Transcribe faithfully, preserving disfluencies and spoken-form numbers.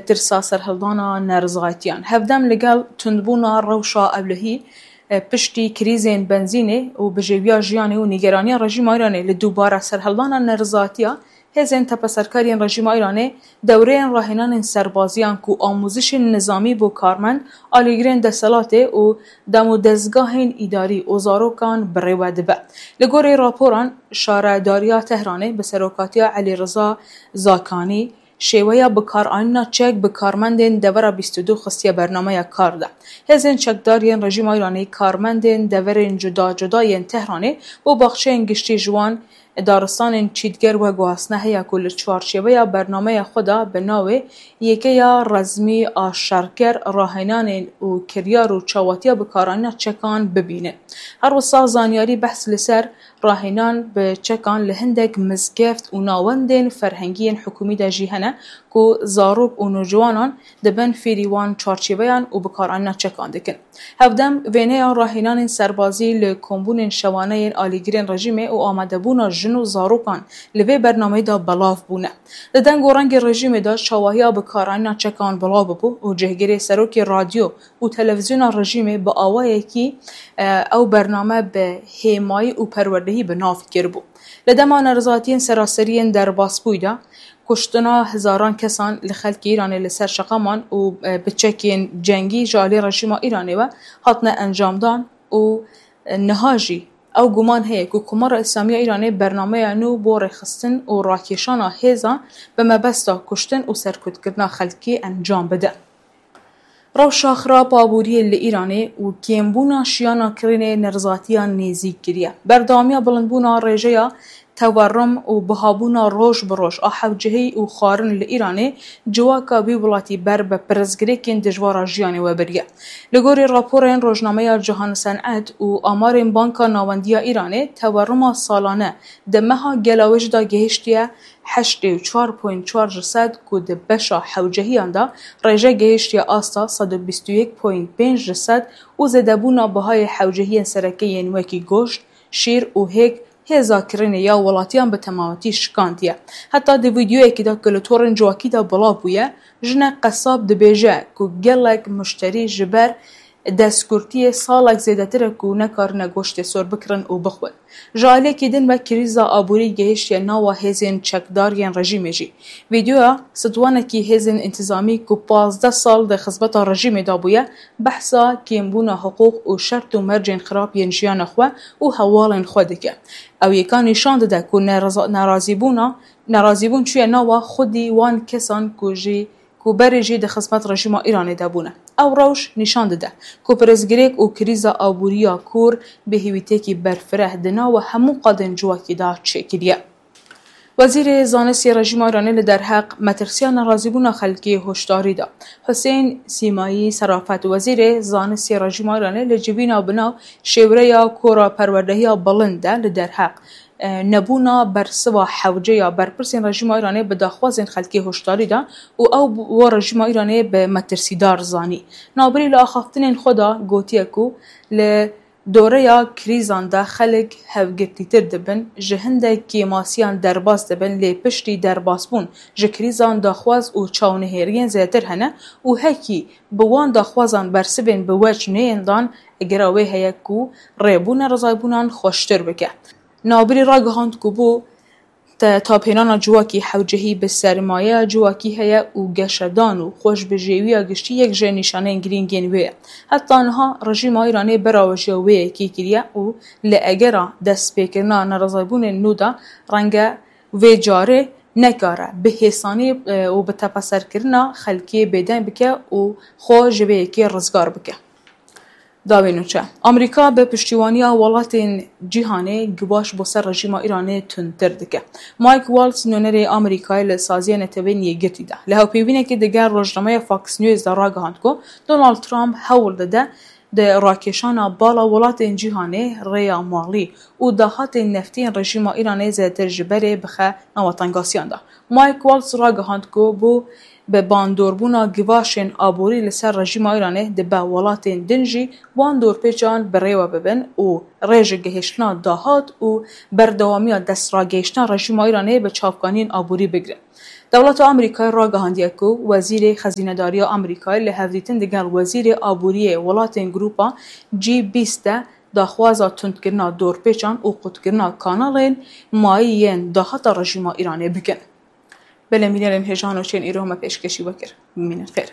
Tirsa serhildana nerizayetiyan. Hevdem li gel tundbûna rewşa ewlehî, e, piştî krîzên benzînê û bijêwiya jiyanê û nîgeraniya rejîma Îranê li dubare serhildana nerizayetiya, hêzên tepeserkariyên rejîma Îranê dewreyên rahênanên serbaziyan ku amûzişên nizamî bo karmend, alîgirên deselatê û dem û dezgahên îdarî û zarokan bi rê we dibe. Li gorî raporan, Şaredariya Tehranê bi serokatiya Elî Riza Zakanî, şêweya bikaranîna çek bi karmendên devera bîst û du xistiye bernameya kar de. Hêzên çekdar yên rejîma Îranê karmendên deverên cuda cuda yên Tehranê bo baxçeyên giştî ji wan, daristanên çîtger veguhastine heya ku li çarçêveya bernameya xwe de bi navê Yekeya Resmî a Şerker rahênanên û kiryar û çawatiya bikaranîna çekan bibînin. Her wisa zanyarî behs li ser rahênan bi çekan li hindek mizgeft û nawendên ferhengî yên hikûmî de jî hene ku zarok û nûciwanan di bin fêrî wan çarçêveyan û bikaranîna çekan dikin. Hevdem, wêneya rahênanên serbazî li kombûnên şewane yên alîgirên rejîmê û amadebûna jin û zarokan li vê bernameyê de belav bûne. Di deng û rengê rejîmê de çawahiya bikaranîna çekan belav bibû û cihgirê serokê radyo û televîzyona rejîmê bi awayekî, e, ew bername bi hêmayî û perwerdehî bi nav kiribû. Li dema nerizatiyên seraserî yên derbasbûyî de, kuştina hezaran kesan li xelkê Îranê li ser şeqaman û, e, bi çekên cengî ji alî rejîma Îranê ve hatine encamdan û, e, niha jî ew guman heye ku Komara Îslamî ya Îranê bernameya nû bo rêxistin û rakêşana hêzan bi mebesta kuştin û serkutkirina xelkê encam bide. Rewşa xirab aboriyê li Îranê û kêmbûna şiyana kirînê nerizatiyan nêzîk kiriye. Berdewamiya bilindbûna rêjeya tewerrim û bihabûna roj bi roj a hewcehî û xwarin li Îranê civaka vî welatî ber bi pirsgirêkên dijwar a jiyanê we biriye. Li gorî raporên rojnameya Cihan Senet û amarên Banka Nawendiya Îranê, tewerrima salane di meha gelawêj de gihiştiye heştê û çar point çar ji sed ku di beşa hewcehiyan de rêje gihiştiye asta sed û bîst û yek point pênc ji sed û zêdebûna bihayê hewcehiyên sereke yên wekî goşt, şîr û hêk hêza kirînê ya welatiyan bi temametî şikandiye. Heta di vîdeoyekî de ku li torên civakî de belav bûye, jinek qesab dibêje ku gelek muşterî ji ber destgurtiyê salek zêdetir e ku nekarine goştê sor bikirin û bixwin. Ji aliyekî din ve krîza aborî gehiştiye nava hêzên çekdar yên rejîmê jî. Vîdeoya sitwanekî hêzên întîzamî ku pazdeh sal di xizmeta rejîmê de bûye, behsa kêmbûna hiqûq û şert û mercên xirab yên jiyana xwe û hevalên xwe dike. Ew yeka nîşan dide ku nereza-, nerazîbûna, nerazîbûn çûye nava xwedî wan kesan ku jî ku berê jî di xizmet rejîma Îranê de bûne. Ew rewş nîşan dide ku pirsgirêk û krîza aborî ya kûr bi hêvîtiyekî berfireh di nava hemû qadên civakî de çêkiriye. Wezîrê Zanistê rejîma Îranê li derheq metirsiya nerazîbûna xelkê hoşdarî da. Husên Sîmayî Serafet, wezîrê zanistê rejîma Îranê, li civîna bi nav şêwreya kora perwerdehiya bilind de li derheq e, nebûna bersiva hewce ya berpirsên rejîma Îranê bi daxwazên xelkê hoşdarî da û ew bo rejîma Îranê bi metirsîdar zanî. Navbirî li axaftinên xwe de gotiye ku li doreya krîzan de xelk hevgirtîtir dibin, ji hindek kêmasiyan derbas dibin, lê piştî derbasbûn ji krîzan daxwaz û çawnihêriyên zêdetir hene û hekî bi wan daxwazan bersivên bi wec neyên dan, egera wê heye ku rê bo nerizayîbûnan xweştir bike. Navbirî ragihand ku bo te-, taphênana civakî hewcehî bi sermayeya civakî heye û geşedan û xweşbijêwiya giştî yek ji nîşaneyên girîng yên wê ye. Heta niha rejîma Îranê berawejiya wê yekê kiriye û li egera destpêkirina nerizayîbûnên nû de renge vê carê nekare bi hêsanî, e, û bi tepeserkirina xelkê bêdeng bike û xwe ji vê yekê rizgar bike. Dawî nûçe. Amerîka bi piştîwaniya welatên cîhanê givaş bo ser rejîma Îranê tundtir dike. Mike Waltz, nûnerê Amerîkayê li saziya Neteweyên Yekgirtî de, li hevpeyvînekê digel rojnameya Fox News de ragihand ku Donald Trump hewl dide di rakêşana bala welatên cîhanê rêya malî û dahatên neftî yên rejîma Îranê zêdetir ji berê bixe nava tengasiyan de. Mike Waltz ragihand ku bo bi bandorbûna givaşên aborî li ser rejîma Îranê dibe welatên din jî wan dorpêçan bi rê we bibin û rê ji gihiştina dahat û berdewamiya destragihiştina rejîma Îranê bi çavkaniyên aborî bigirin. Dewleta Amerîkayê ragihandiye ku Wezîrê Xezînedariya Amerîkayê li hevdîtin digel Wezîrê Aboriyê welatên Grupa G bîst de daxwaza tundkirina dorpêçan û qutkirina kanalên mayî yên dahata rejîma Îranê bikin. Belê mînerên hêja nûçeyên îro me pêşkêşî we kir. Bimînin xêr.